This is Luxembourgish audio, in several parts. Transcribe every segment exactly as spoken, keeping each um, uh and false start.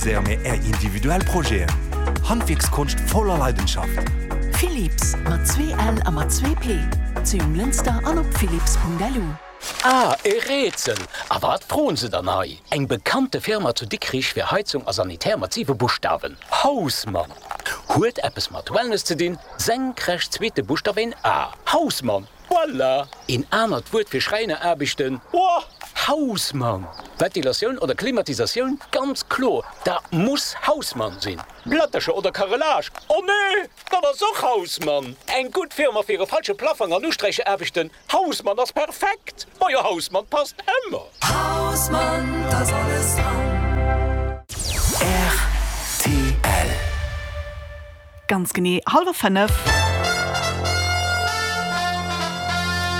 Realiséiere mir Är individuell Projeten. Handwierkskonscht voller Leidenschaft. Philips, mat zwee L a mat zwee P, zu Jonglënster an op philips.lu. Ah, e Rätsel! A wat froen se dann hei? Eng bekannte Firma zu Dikrich fir Heizung a Sanitär mat siwe Buschtawen. Hausmann! Huet eppes mat Wellness ze dinn, senkrecht zweete Buschtaf een A. Hausmann! Voilà! Een anert Wuert fir Schräineraarbechten? Boah! Hausmann! Ventilatioun oder Klimatisatioun? Ganz kloer, dat muss Hausmann sinn! Plättercher oder Carrelage? Oh nee! Dat ass och Hausmann! Eng gutt Firma fir e falsche Plaffong an Usträichaarbechten? Hausmann ass perfekt! Majo, Hausmann passt ëmmer! Hausmann, 't ass alles dran! Rtl. Ganz genee hallwer fënnef.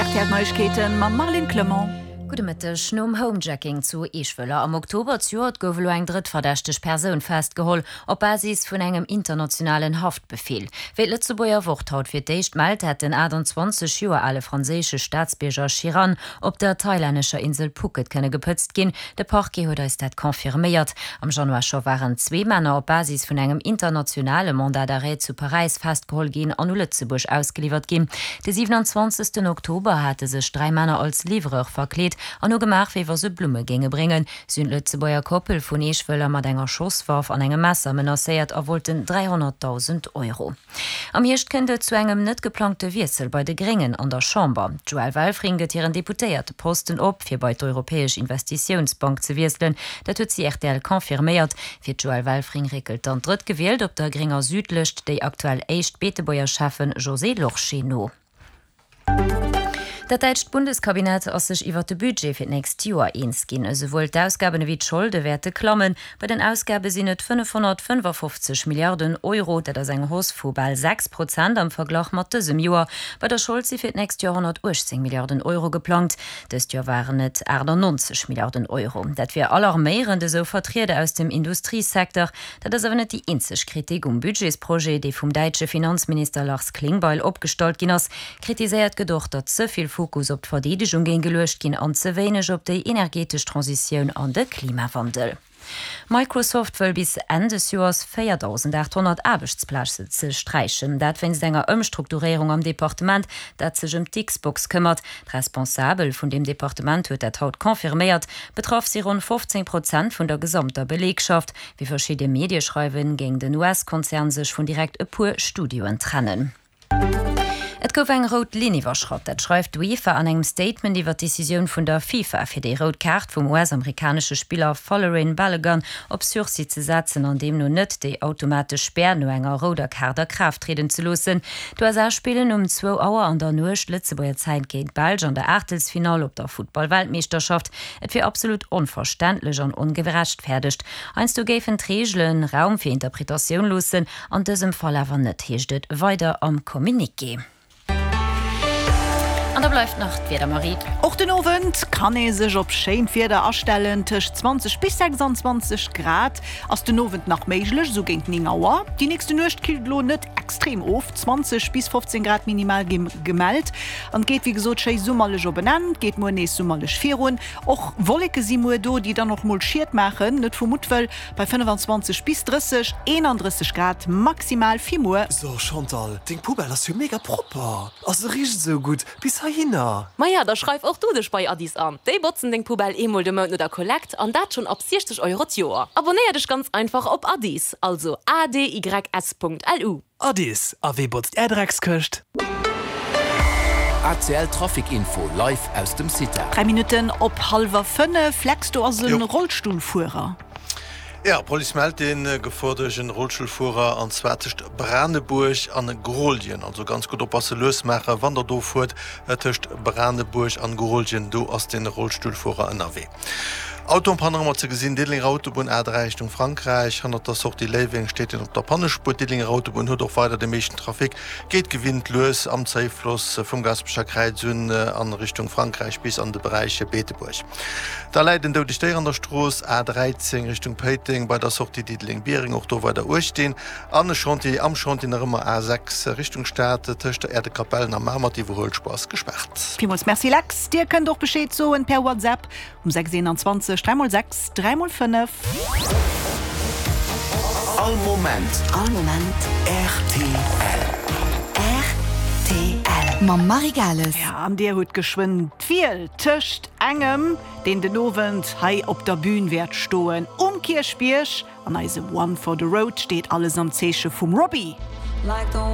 R T L Neiegkeeten mam Marlene Clement. Gudde Mëtteg. Nom Homejacking zu Eeschwëller am Oktober zejoert gouf elo eng drëtt verdächteg Persoun festgeholl, op Basis vun engem internationalen Haftbefeel. Wéi d'Lëtzebuerger Wort haut fir d'éischt mellt, hätt den achttanzwanzeg Joer ale franséische Staatsbierger Chiran op der thailännescher Insel Phuket kënne gepëtzt ginn. De Parquet huet eis dat confirméiert. Am Januar scho waren zwee Männer op Basis vun engem internationale Mandat d'arrêt zu Paräis festgeholl ginn an u Lëtzebuerg ausgeliwwert ginn. De siewenundzwanzegsten Oktober hate sech dräi Männer als Livreur verkleet an hu gemaach, wéi wa se Blumme géinge bréngen. Si hunn d'Lëtzebuerger Koppel vun Eeschwëller mat enger Schosswaff an engem Messer menacéiert a wollten dräihonnertdausend Euro. Am Hierscht kënnt et zu engem net geplangte Wiessel bei de Gréngen an der Chamber. D'Joëlle Welfring gëtt hiren Deputéierteposten op, fir bei d'Europäesch Investitiounsbank ze wiesselen. Dat huet si R T L confirméiert. Fir d'Joëlle Welfring réckelt dann drëttgewielt op der grénger Südlëscht déi aktuell éischt Beetebuerger Schäffen Josée Lorsché no. Dat däitscht Bundeskabinett ass sech iwwer de Budget fir d'nächst Joer eens ginn. Esouwuel d'Ausgaben ewéi d'Scholde wäerte klammen. Bei den Ausgabe sinn et fënnefhonnertfënnefafofzeg Milliarden Euro, dat ass eng Hausse vu bal sechs Prozent am Verglach mat dësem Joer. Bei der Schold si fir d'nächst Joer honnertuechtzéng Milliarden Euro geplangt. Dëst Joer waren et aachtannonzeg Milliarden Euro. Dat wier alarméierend, esou Vertrieder aus dem Industriesecteur. Dat ass awer net déi eenzeg Kritik um Budgetsprojet, dee vum däitsche Finanzminister Lars Klingbeil opgestallt ginn ass. Kritiséiert gëtt och, datt ze vill Fokus op d'Verdeedegung géing geluecht ginn an ze wéineg op déi energetesch Transitioun an de Klimawandel. Microsoft wëll bis Enn des Joers véierdausendaathonnert Aarbechtsplaze sträichen. Dat wéinst enger Ëmstrukturéierung am Departement, dat sech ëm d'Xbox këmmert. D'Responsabel vun deem Departement huet dat haut confirméiert. Betraff si ronn fofzéng Prozent vun der gesamter Beleegschaft. Wéi verschidde Medie schreiwen, géing den U S-Konzern sech vun direkt e puer Studioen trennen. Et gouf eng rout Linn iwwerschratt, dat schreift d'UEFA an engem Statement iwwer d'Decisioun vun der FIFA, fir déi rout Kaart vum U S-amerikanesche Spiller Folarin Balogun op Sursis ze setzen an deemno net déi automatesch Spär no enger rouder Kaart a Kraaft trieden ze loossen. D'U S A spillen um zwou Auer an der Nuecht Lëtzebuerger Zäit géint d'Belsch an der Aachtelsfinall op der Futtball-Weltmeeschterschaft. Et wier absolut onverständlech an ongerechtfäerdegt. Heiansdo géifen d'Reegelen Raum fir Interpretatioun loossen, an dësem Fall awer net, heescht et weider am Communiqué. An da bleift nach d'Wieder, Marie. Och den Owend kann ee sech op schéint Wieder astellen, tëscht zwanzeg bis sechsanzwanzeg Grad ass den Owend nach méiglech, sou géint néng Auer. Déi nächste Nuecht killt elo net extrem of, zwanzeg bis fofzéng Grad minimal gi gemellt an et geet wéi gesot schéi summerlech op en Enn, geet muer nees summerlech virun. Och Wolleke si muer do, déi dann och mol Schied maachen, net vu Muttwëll, bei fënnefanzwanzeg bis drësseg, eenandrësseg Grad maximal fir muer. So Chantal, deng Poubelle ass jo mega propper, a se richt esou gutt bis heihinner. Maja, da schreif och du dech bei Adys an. Déi botzen deng Poubelle eemol de Mount no der Kollekt an dat schonn ab siechzeg Euro d'Joer. Abonéier dech ganz einfach op Adys, also A D Y S Punkt L U. Adys, a wee botzt är Dreckskëscht? A C L Trafic Info live aus dem Cita. Dräi Minutten op hallwer fënnef. Lex, do ass e Rollstullfuerer. Ja, Police mellt een Gefor duerch en Rollstullfuerer an zwar tëscht Branebuerg an Grooljen. Also ganz gutt oppasse, lues maachen, wann der do fuert, tëscht Branebuerg an Grooljen, do ass den Rollstullfuerer ënnerwee. Auto en panne nach ëmmer ze gesinn, Diddelenger Autobunn A dräi Richtung Frankräich, hannert der Sortie Léiweng steet een op der Pannespuer. D'Diddelenger Autobunn huet och weider de meeschten Trafic, geet gewinnt lues am Zéifloss vum Gasperecher Kräiz un an Richtung Frankräich bis an de Beräich Beetebuerg. Da läit en doudegt Déier an der Strooss A dräizéng Richtung Péiteng bei der Sortie Diddeleng-Biereng, och do weider uecht dinn. An e Chantier, am Chantier nach ëmmer A sechs Richtung Stad tëscht der Äerdekapellen a Mamer, d'Iwwerhuelspuer ass gespaart. Villmools Merci Lex. Dir kënnt och Bescheed soen per WhatsApp um sechs eenanzwanzeg dräi mol sechs dräi mol fënnef. All Moment. All Moment. Rtl. Rtl. Mam Marie Gales. Ja, an Dir hutt geschwënn d'Wiel tëscht engem, deen den Owend hei op der Bün wäert stoen um Kierchbierg, an eisem One for the Road steet alles am Zeeche vum Robbie.